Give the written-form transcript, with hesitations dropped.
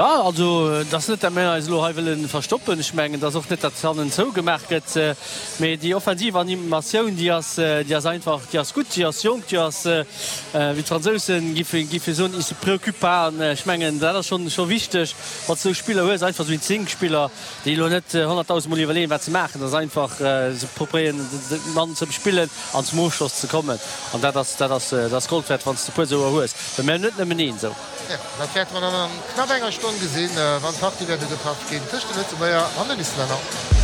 Jo, also et ass net, dat mir eis elo hei wëlle verstoppen. Ech mengen, et ass och net, datt hannen zougemaach gëtt. Mee déi offensiv Animatioun, déi ass, déi ass einfach, déi ass gutt, déi ass jonk, déi ass, wéi d'Fransousen giffe, giffe soen, ils se préoccupent pas. An ech mengen, dat ass schonn, scho wichteg, wann s de esou Spiller hues, einfach esou Instinktspiller, déi elo net honnertdausendmol iwwerleeën, wat se maachen. Dat ass einfach, se probéieren, de Mann ze bespillen an zum Ofschloss ze kommen. An dat ass, dat ass, dat ass Gold wäert, wann s de e puer esouer hues. Well mir hunn net nëmmen een esou. Jo, dat wäerte mer dann an knapp enger Stonn gesinn, wann d'Partie wäert ugepaff ginn tëscht de Lëtzebuerger an den Islänner.